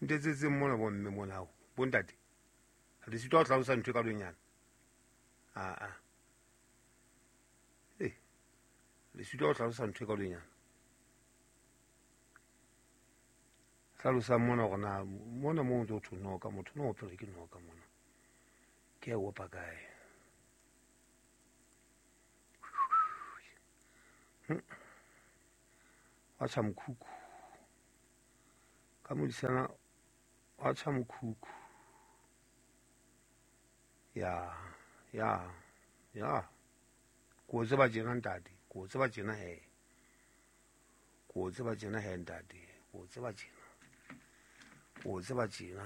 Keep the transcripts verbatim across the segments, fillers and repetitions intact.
Ntetsetseng mona bomme mona ao bontate le sitwa ho hlalosa ntho e ka lonyana a a eh le sitwa ho hlalosa ntho e ka lonyana hlalosa mona hore na mona mo ntse ho thwe noka motho no opelwa ke noka mona ke a opa kae. Wa tjha mokhukhu ka modisana wa tjha mokhukhu ya ya ya ko tseba tjena ntate ko tseba tjena he ko tseba tjena he ntate ko tseba tjena ko tseba tjena.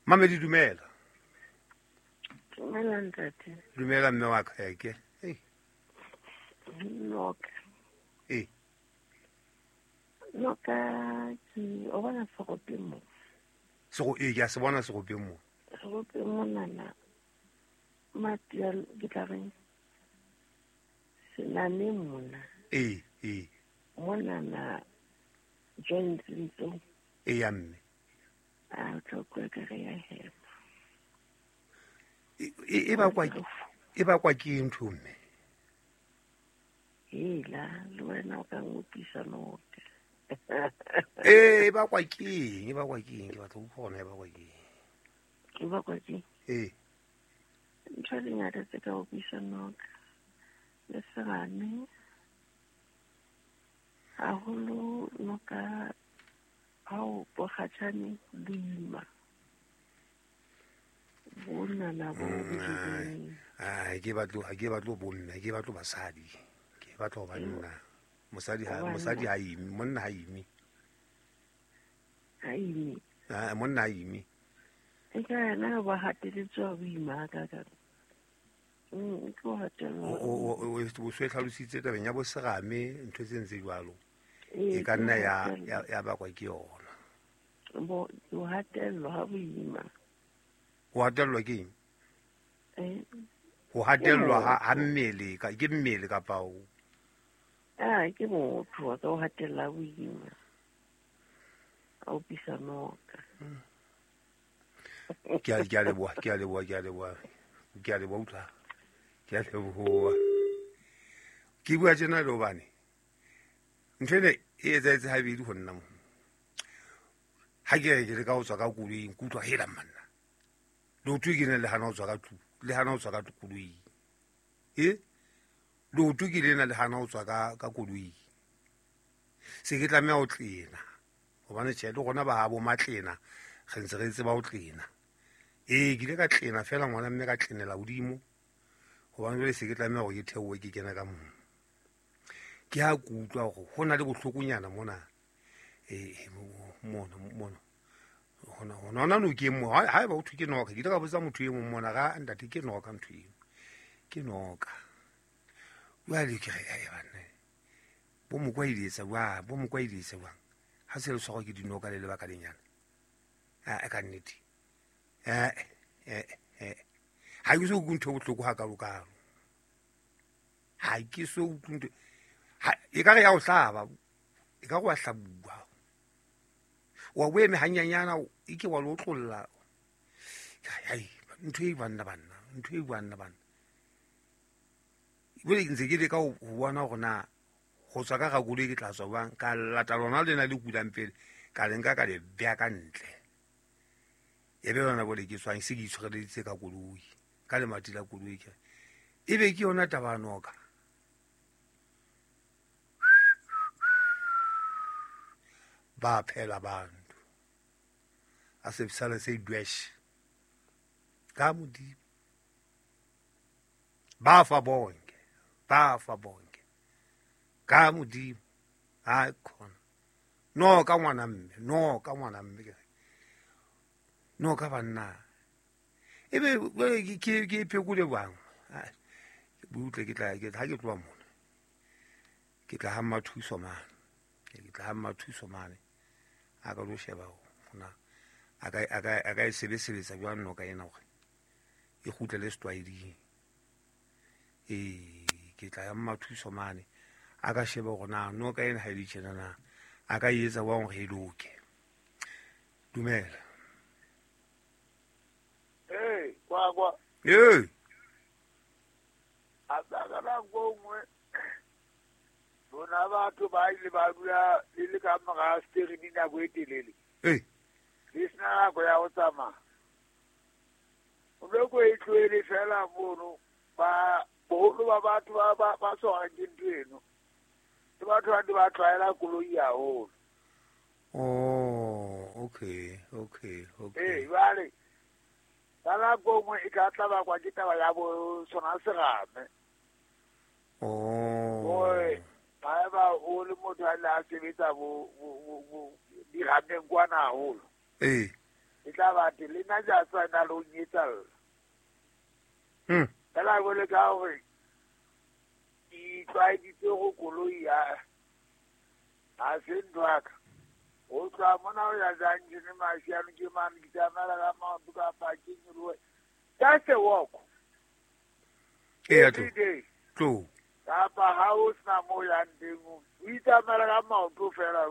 Mamedi dumela. Dumela ntate. Dumela mme wa ka ke hey noka eh noka ke o bona segope mo sego e ke a se bona segope mo segope monana matia ke tla reng senane mona eh eh monana joints ntso e ya mme a tlo kwa ka re ya hema e e ba kwa e ba kwa ke ntho mme hela le wena o ka ngopisa noka eh e ba kwa ke e ba kwa ke ke batla go bona e ba kwa ke e ba kwa ke eh ntho di ngata tse ka opisa noka le serame haholo noka ha o bokgatjhane boima bonana bo bojeng. Ai ke batlo ke batlo bomme ke batlo basadi ke batlo banna mosadi ha mosadi ha imi monna ha imi ha imi ah monna ha imi e ka na ba hateletswa boima ka ka mm ke o hatellwa o o o se tlhalositse tabeng ya bo serame ntho tse ntse jwalo e ka nna ya ya bakwa ke yona bo o hatellwa ha boima o hatellwa ke eng eh ho hatellwa ha mmele ka ke mmele kapa o ah ke motho wa ka o hatella boima a opisa noka. Ke a ke a leboha ke a leboha ke a leboha ke a leboha utlwa ke a leboha ke bua tjena le hobane ntho ena e etsahetse habedi ho nna mo ha ke re ke le ka ho tswa ka koloing ke utlwa hela manna leoto ke ne le hana ho tswa ka tlung le hana ho tswa ka koloing e leoto ke lena le hana ho tswa ka ka koloing se ke tlameha ho tlena hobane tjhe le rona ba habo matlena re ntse re tseba ho tlena ee ke ile ka tlena fela ngwana mme ka tlenela hodimo hobane jwale se ke tlameha hore ke theohe ke kena ka moo ke ha ke utlwa hore ho na le bohlokonyana mona eh mona mona hona hona hona no ke mo ha eba o thwe ke noka ke ile ka botsa motho e mong mona ga ntate ke noka ntho eo ke noka jwale ke re ai banna bo mokwa iletsa wa bo mokwa iletsa wa ha se le tshwarwa ke dinoka le lebaka lenyana a ka nnete eh eh eh ha ke so utlwe ntho e bohloko ha kalokalo ha ke so utlwe ntho e ka re ya o hlaba e ka re wa hlabuwa wa o eme hanyanyana e ke wa lo otlolla ai ntho e banna banna ntho e banna banna jwale ntse ke leka ho bona hore na ho tswa ka koloi ke tla tswa jwang ka lata lona lena le kulang pele ka le nka ka le beha ka ntle e be yona bole ke tswang se ke itshwareleditse ka koloi ka lemati la koloi ke e be ke yona taba ya noka ba phela bantu a se sale se dwesh ka Modimo ba fa bonke ba fa bonke ka Modimo ha khona no ka ngwana mme no ka ngwana mme no ka banna e be ke ke phekole bang butle ke tla ke ha ke tloha mona ke tla ha Mathuso mane ke tla ha Mathuso mane a ka lo sheba hona a ka a ka a ka e sebetsa jwang noka ena hore e kgutlele setlwaeding e ke tla ya Mathuso mane a ka sheba hore na noka ena ha e le tjena na a ka e etsa jwang hore e loke. Dumela. Hey, kwa kwa. Hey. A tsa ka ngwe. Bona batho ba ile ba dula le le ka mora steering nako e telele. Hey. Le sena nako ya ho tsamaya. O loko e tlohele fela mono ba boholo ba batho ba ba ba tshwarang ke ntho eno. Ke batho ba ba tlwaela koloi haholo. Oh, okay, okay, okay. Ee, jwale ka nako nngwe e tla tla bakwa ke taba ya bo sona serame. Oh. Hore haeba o le motho a le a sebetsa bo bo dirameng kwana haholo. Ee. E tla ba teng le nna ke a tseba na le ho nyetsalla. Hmm. Fela jwale ka hore ke itlwaeditse go koloi ya ha se ntho ya ka. O tloha mona ho ya junction Mashiano ke mane ke tsamaela ka maoto kapa ke nyolohe. Just a walk. Eya, Every day. tlo. Kapa ha o sena moo o yang teng, o itsamaela ka maoto fela.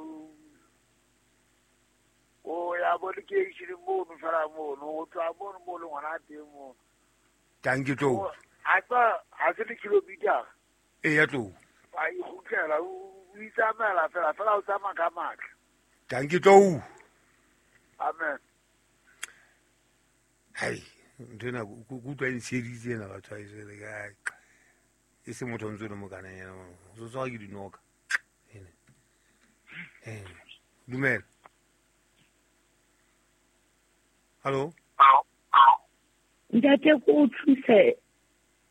O ya bo lekeisheneng mono fela mono, o tloha mono mo leng hona teng mono. Tanki tlo. A tswa ha se le kilometer. Eya, tlo. Wa ikgutlela, o itsamaela fela, fela o tsamaya ka matla. Tanki tlo. Amen. Hai, ntho ena ke utlwa e ntsheditse ena batho ha e jwale ka e se motho o ntse o le mokana yena o so tshwarwa ke dinoka. Eh. Dumela. Hallo? Ntate ko o thuse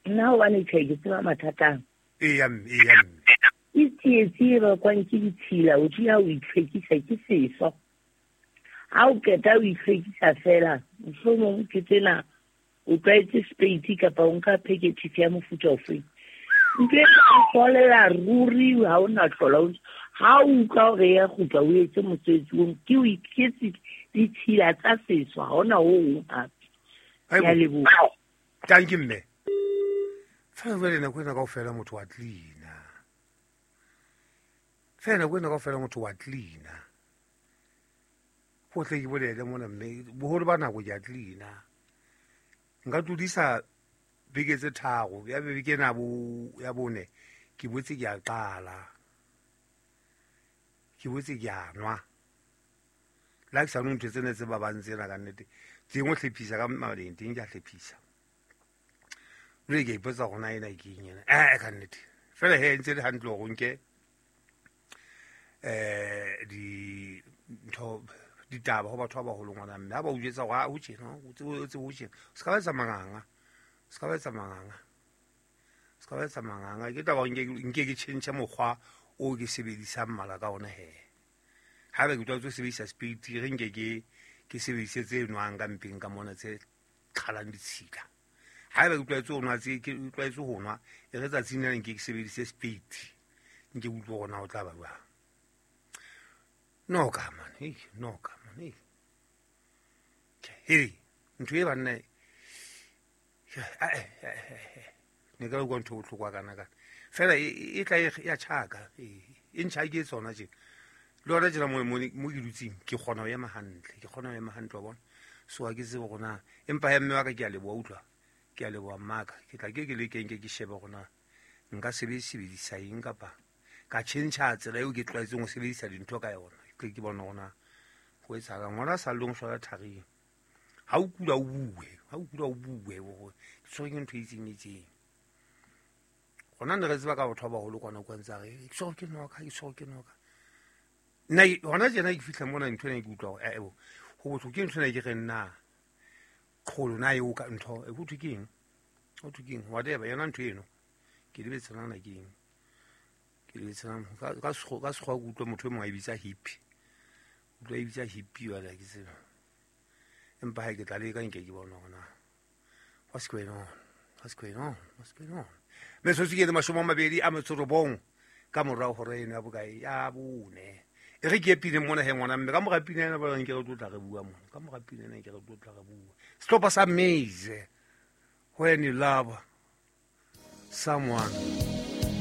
nna hobane tjhe ke tseba mathata. Eya mme, eya mme. Ke tsietsi e bakwang ke ditshila, o dula o itlhwekisa ke seso. Ha o qeta o itlhwekisa fela, mohlomong ke tsena o tlwaetse spade kapa o nka package ya mofuta ofe. Ntho e folela ruri ha o na hlola. Ha o utlwa hore ya kgutla o etse mosebetsi oo, ke o iketse ditshila tsa seso, ha hona ho hong hape. Ke a leboha. Thank you mme. Fela jwale nako ena kaofela motho wa cleaner. Fela nako ena kaofela motho wa cleaner. Ho tle ke bolele mona mme boholo ba nako ke a cleaner. Nka tlodisa beke tse tharo, ya beke ena bo ya bone ke botse ke a qala. Ke botse ke a nwa. La ke sa nwe ntho tsena tse babang tsena ka nnete. Tse nngwe hlephisa ka maleng teng ke a hlephisa. Jwale ke a ipotsa hore na ena ke eng ena. Eh ka nnete. Fela he ntse le hantle hore o nke eh di ntho ditaba ho batho ba baholo ngwana mme ha ba o jwetsa hore ha o tjena o tsebe o tsebe o tjena. Se ka ba etsa manganga. Se ka ba etsa manganga. Se ka ba etsa manganga. Ke taba nke nke ke tjhentjhe mokgwa o ke sebedisang mala ka ona he. Haeba ke tlwaetse ho sebedisa spade re nke ke ke sebedise tse nwang ka mpeng ka mona tse qhalang ditshila. Haeba ke tlwaetse ho nwa tse ke tlwaetse ho nwa e re tsatsing lena nke ke sebedise spade. Nke utlwe hore na o tla ba jwang. Noka man, hey, noka man, hey. Hey, ntho e banna ne ka utlwa ntho e bohlokwa kana kana. Fela e tla ya tjhaka, e ntjha ke tsona tje. Le hona tjena mo mo ke dutseng ke kgona ho ema hantle, ke kgona ho ema hantle wa bona. So ha ke tsebe hore na empa ya mme wa ka ke a leboha utlwa. Ke a leboha mmaka. Ke tla ke ke lekeng ke ke shebe hore na nka sebedisa eng kapa ka tjhentjha tsela eo ke tlwaetseng ho sebedisa dintho ka yona. Ke ke bona hore na ho etsahalang. Ngwana sa leng shwala tharing. Ha o kula o bue, ha o kula o bue hore ke tshwerwe ke ntho e itseng itseng. Hona ne re tseba ka batho ba baholo kwana kwa ntse a re ke tshwerwe ke noka, ke tshwerwe ke noka. Nna hona tjena ke fihla mona ntho ena ke utlwa hore eh ho bohloko ke ntho ena ke re nna qholo na eo ka ntho e ho thwe ke eng? Ho thwe ke eng? Whatever yona ntho eno. Ke lebetse nana ke eng? Ke lebetse nana ka ka sekgowa ka sekgowa ke utlwa motho e mong a e bitsa hippie. Utlwa e bitsa hippie jwale ha ke tsebe. Empa ha ke tla leka nke ke bona hore na what's going on? What's going on? What's going on? Metsotso ke le mashome a mabedi a metso robong ka morao hora eno ya bokae ya bone. E re ke pine mona he ngwana mme ka mora pina ena ba nke re tlo tla re bua mona. Ka mora pina ena ke re tlo tla re bua. Sehlopha sa Maize. When you love someone.